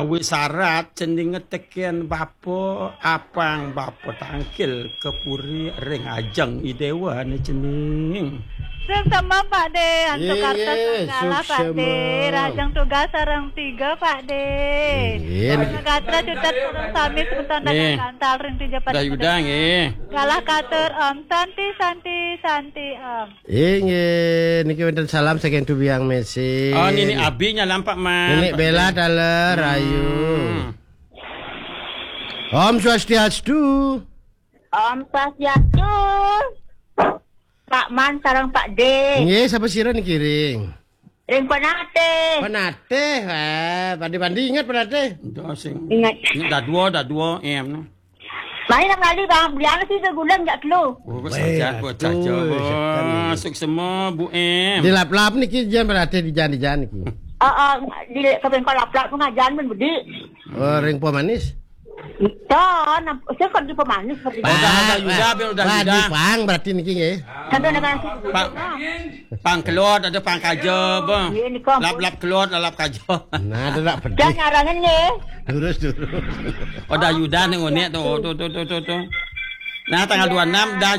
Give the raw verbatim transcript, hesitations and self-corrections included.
Awit sarat cening ngeteken bapa apang bapa tangkil ke puri ring ajeng Idewa ne cening. Sing semem Pak De, antuk Ye, kartos ye, galah Pak De, suksema. Rajang tugas sareng tiga Pak De. Ye, Warna gatra cutet sareng sami semeton dagang gantal ring tiga Pak De. Dah Yuda nggih. Galah katur Om Santi Santi Santi Om. Inggih, niki wenten salam saking Tubiang Mesir. Oh, nini Abi nyalam Pak Man. Nini Bella taler rahayu. Om Swastiastu. Om Swastiastu. Pak Man sareng Pak De. Nggih, sapa sira niki ring? Ring Penatih. Penatih, wah, pandi-pandi inget Penatih. Ingat. Ini dadua, dadua, em. Mari nang lali bang, beli anu sih segulang jak telu. Oh, saja, buat saja. Wah, suksema Bu Em. Di lap-lap niki jan berarti di jan-di-jan niki. Oh, oh, di kepengkol lap-lap pengajian men bedi. Oh, ring pemanis. Ton, saya kan di pemanis seperti. Oh, dah, dah, Yuda, Bel, dah, Yuda. Pang berarti niki nggih. Sampai dengan Pak. Pang kelod ada pang kaja, bang. Iya, ni, Kong. Lap-lap kelod, lalap kaja. Nah, ada nak pedih. Jangan arangan nggih. Terus, terus. Oh, dah Yuda ning onek tu, tu, tu, tu, tu, tu. Nah, tanggal dua enam dah